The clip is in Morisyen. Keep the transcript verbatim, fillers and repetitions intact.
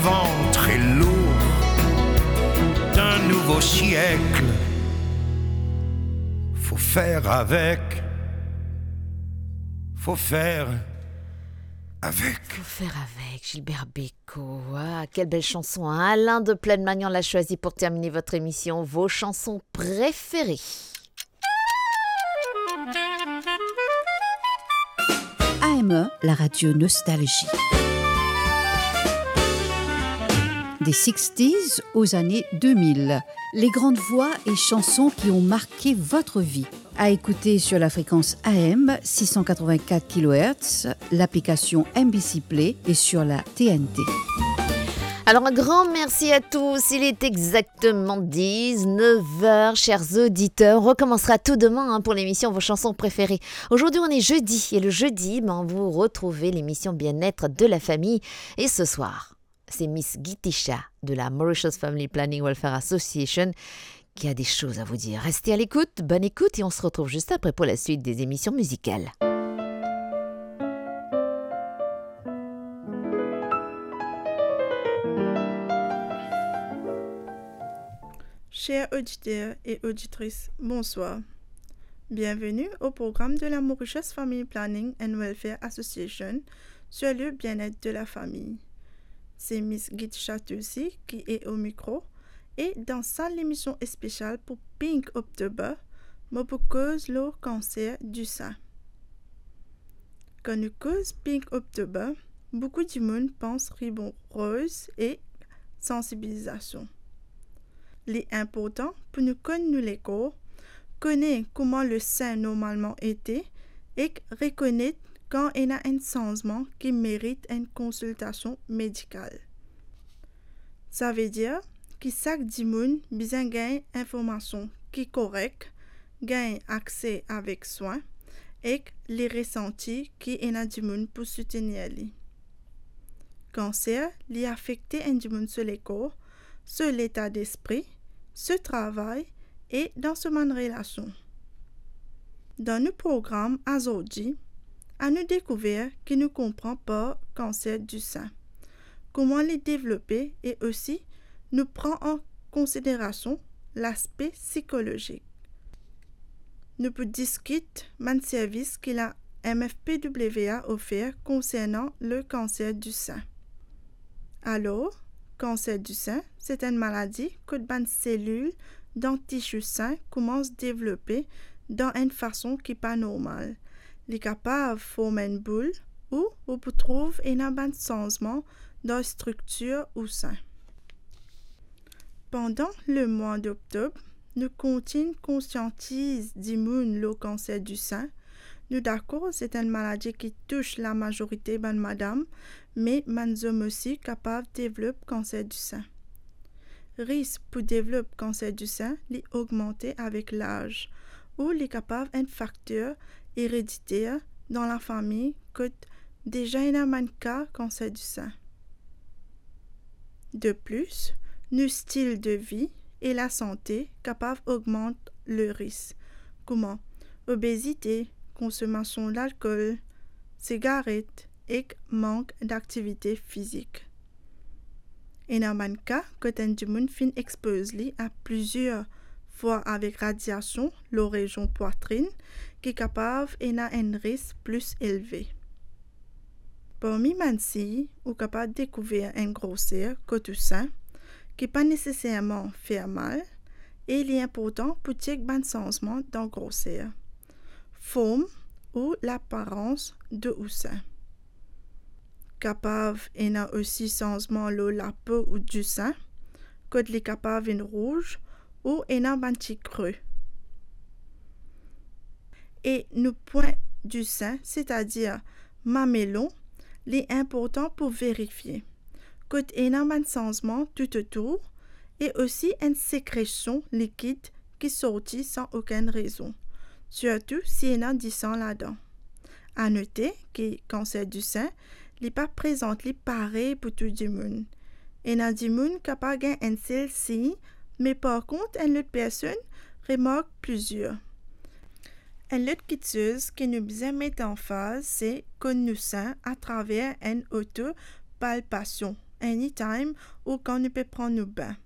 Vent très lourd d'un nouveau siècle. Faut faire avec. Faut faire avec. Faut faire avec, Gilbert Bécaud. Ah, quelle belle chanson, hein ? Alain de Plaine-Magnan l'a choisi pour terminer votre émission, vos chansons préférées. A M E, la radio nostalgie. Des sixties aux années deux mille. Les grandes voix et chansons qui ont marqué votre vie. À écouter sur la fréquence A M six cent quatre-vingt-quatre kilohertz, l'application M B C Play et sur la T N T. Alors, un grand merci à tous. Il est exactement dix-neuf heures, chers auditeurs. On recommencera tout demain, hein, pour l'émission Vos chansons préférées. Aujourd'hui, on est jeudi, et le jeudi, ben, vous retrouvez l'émission Bien-être de la famille. Et ce soir, c'est Miss Gitisha de la Mauritius Family Planning Welfare Association qui a des choses à vous dire. Restez à l'écoute, bonne écoute, et on se retrouve juste après pour la suite des émissions musicales. Chers auditeurs et auditrices, bonsoir. Bienvenue au programme de la Mauritius Family Planning and Welfare Association sur le bien-être de la famille. C'est Miss Gitisha Tulsi qui est au micro, e dan sa lemision spesial pou Pink October, mo pou koz lor kanser disin. Kan nou koz Pink October, boukou dimoun pans ribon roz e sansibilizasion. Li inportan pou nou konn nou lekor, kone kouma le sin normalman ete, ek rekonet kan ena enn sanzman ki merit enn konsiltasion medikal. Savedir ki sak dimoun bizin gagn informasion ki korek, gagn akse avek swin, ek li resanti ki ena dimoun pou soutenir li. Kanser, li afekte enn dimoun so lekor, so leta despri, so travay e dan so bann relasion. Dan nou program azordi, anou dekouver ki nou konpran par kanser disin, kouma li devlope e osi nou pran an konsiderasion laspe sikolozik. Nou pou diskit bann servis ki la M F P W a ofer konsernan le kanser disin. Alor, kanser disin, se enn maladi kot bann selil dan tisi sin koumans devlope dan enn fason ki pa normal. Li kapav form enn boul ou ou pou trouv ena bann sanzman dan striktir ou sin. Pandan lemwa doktob, nou kontign konsiantiz dimoun lor kanser disin. Nou dakor, se enn maladi ki tous lamazorite bann madam, me bann zom osi kapav devlop kanser disin. Risk pou devlop kanser disin, li ogmante avek laz, ou li kapav enn fakter erediter dan lafami kot deza ena bann ka kanser disin. De plis, nou stil de vi e lasante kapav ogmant le risk, kouma obezite, konsomasion lalkol, sigaret ek mank daktivite fizik. Ena bann ka kot enn dimoun finn expoz li a plizier fwa avek radiasion lor rezion pwatrin, ki kapav ena enn risk plis elve. Parmi bann sign, ou kapav dekouver enn groser kot ou sin, ki pa neseserman fer mal, e li inportan pou chek bann sanzman dan groser, form ou laparans de ou sin. Kapav ena osi sanzman lor lapo ou disin, kot li kapav vinn rouz ou ena bann ti kre. E nou pwin disin, setadir mamelon, li inportan pou verifie kot ena bann sanzman toutotour e osi enn sekresion likid ki sorti san okenn rezon, sirtou si ena disan ladan. A note ki kanser disin, li pa prezant li parey pou tou dimoun. Ena dimoun kapav gagn enn sel sign, me par kont enn lot personn remark plizier. Enn lot kiksoz ki nou bizin met anfaz, se konn nou sin atraver enn otopalpasion, anytime ou kan nou pe pran nou bin.